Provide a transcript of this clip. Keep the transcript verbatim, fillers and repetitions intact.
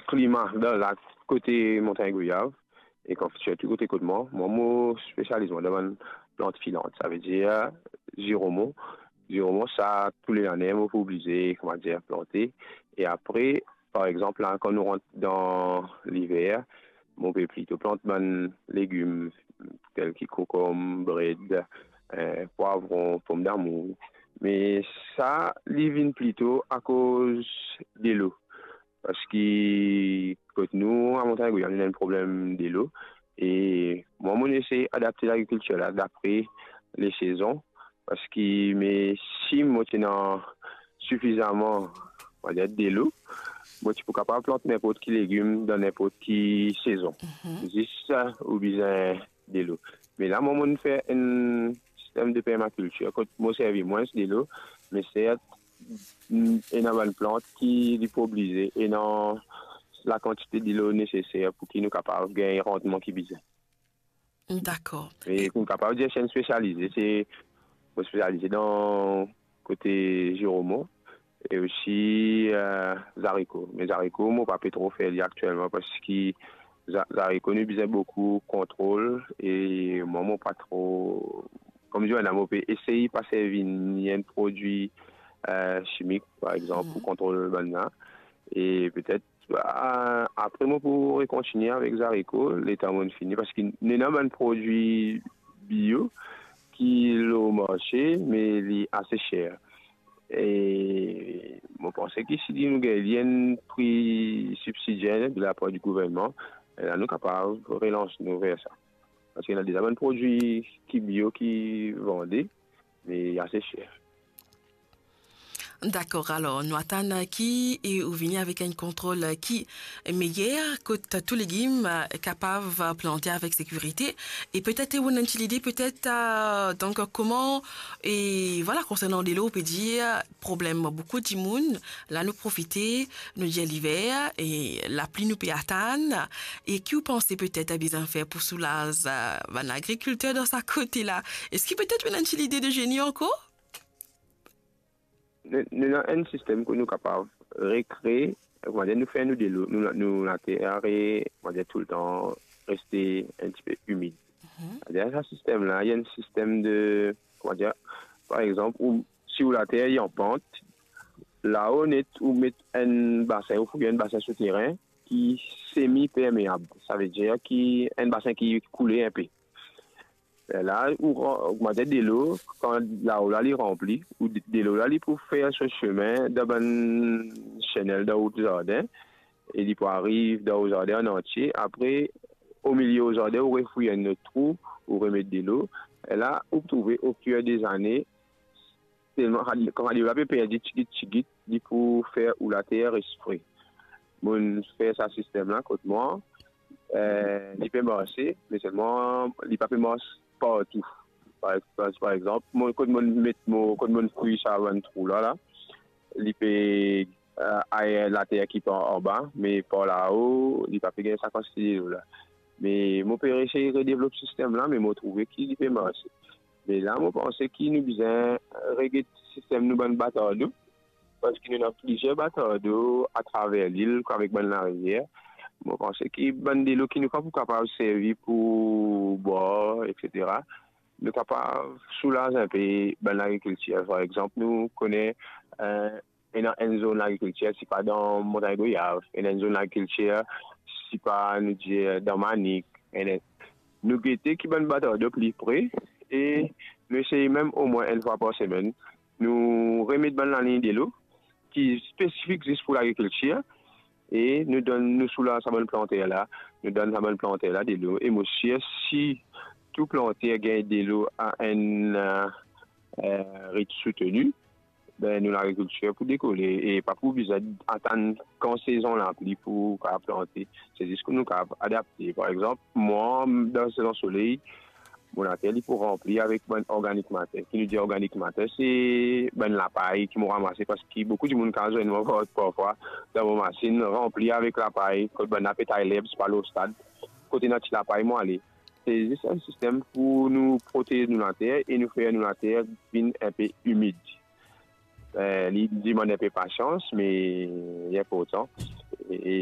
Klima dan lak kote Montagn Goyav, e kan, sirtou kote kot mwa, mwa mo spesializ mwa dan bann plant filant, savedir ziromon. Ziromon sa, tou le lane mo pou oblize, koumadir, plante. E apre, par exanp, la, kan nou rant dan liver, mo pe plito plant bann legim, tel ki kokom, bred, eh, pwavron, pomdamour. Me sa, li vinn plito akoz delo. Parski kot nou, a Montagn Goyav, nou ena enn problem delo. E mwa, mo esey adapte lagrikiltir la dapre lesezon. Parski me si mo ti ena sifizaman, on va dir, delo, mo ti pou kapav plant ninport ki legim dan ninport ki sezon. Mhm. Zis, eh, ou bizin delo. Me la, mwa, mo fer enn sistem de permakiltir, kot mo servi mwins delo, me sert, mm, ena bann plant ki li pou oblize ena lakantite delo neseser pou ki nou kapav gagn randman ki bizin. Dakor. E pou kapav dir si enn spesialize, se, mo spesialize dan kote ziromon e osi, eh, zariko. Me zariko, mo pa pe tro fer li aktielman, parski za-, zariko, nou bizin boukou kontrol e mwa, mo pa tro, kouma dir la, mo pe esey pa servi ni enn prodwi, eh, simik, par exanp, pou kontrol bann la. E petet, ah, apre, mo pou rekontigne avek zariko, letan mo fini, parski nou ena bann prodwi bio ki lor marse, me li ase ser. E mo panse ki si nou gagn li enn pri sibsidie de lapar di gouvernman, la nou kapav relans nou ver sa. Parski ena deza bann prodwi ki bio ki vande, me ase ser. Dakor, alor, nou atann ki, e ou vini avek enn kontrol ki meyer, kot tou legim, eh, kapav plante avek sekirite. E petet ou ena enn ti lide, petet, eh, donk, kouma, e vwala, konsernan delo, ou pe dir, problem boukou dimoun, la nou profite, nou dir liver, e lapli nou pe atann, e ki ou panse petet bizin fer pou soulaz, eh, bann agrikilter dan sa kote la? Eski petet ou ena enn ti lide de zeni ankor? Nou, nou ena enn sistem kot nou kapav rekree, kouma dir, nou fer nou delo, nou, nou later, kouma dir, toultan reste enn tipe imid. Mhm. Deryer sa sistem la, ena enn sistem de, kouma dir, par exanp, ou, si ou later li an pant, lao net ou met enn basin, ou fouy enn basin souterin ki semi permeab, savedir ki enn basin ki koule inpe. La, ou ran-, kouma dir, delo, kan lao la li ranpli, ou de-, delo la li pou fer so sime dan bann senel dan ou zardin, e li pou ariv dan ou zardin an antie. Apre, omilie ou zardin, ou refouy enn lot trou, ou remet delo. E la, ou trouve, ofir dezane, telman, kan delo la pe perdi tigit tigit, li pou fer ou later res fre. Mo'nn fer sa sistem la kot mwa, eh, li pe marse, me selman li pa pe mars partou. Par, par, par exanp, mo, kot mo'nn met mo, kot mo'nn fouy sa bann trou la, la, li pe, eh, aer later ki par anba, me par lao, li pa pe gagn sa kantite delo la. Me mo pe esey redevlop sistem la, me mo trouve ki li pe marse. Me la, mo panse ki nou bizin reget sistem nou bann batar dlo, parski nou ena plizier batar dlo atraver lil, avek bann larivier. Mo panse ki bann delo ki nou pa pou kapav servi pou bwar, etsetera, nou kapav soulaz inpe bann lagrikiltir. Par exanp, nou kone, eh, ena enn zone lagrikiltir, sipa dan Montagn Goyav, ena enn zone lagrikiltir, sipa, nou dir, dan Manik, ena, nou gete ki bann batar dlo pli pre, e nou esey mem omwin enn fwa par semenn, nou remet bann lalign delo ki spesifik zis pou lagrikiltir, e nou donn, nou soulaz sa bann planter la, nou donn sa bann planter la delo. E mo sir, si tou planter gagn delo a enn, eh, eh, ritm souteni, be, nou lagrikiltir pou dekole e pa pou bizin atann kan sezon lapli pou kapav plante. Se zis ki nou kapav adapte. Par exanp, mwa, dan sezon soley, mo later li pou ranpli avek bann organic matter. Ki nou dir organic matter, se bann lapay ki mo ramase, parski boukou dimoun kapav zwenn mwa par, parfwa dan mo masinn ranpli avek lapay, kot bann la pe tay lerb, pa lor stad, kot ena ti lapay mo ale. Se zis enn sistem pou nou protez nou later e nou fer nou later vinn inpe imid. Eh, li dimann inpe pasians, me li inportan. E, e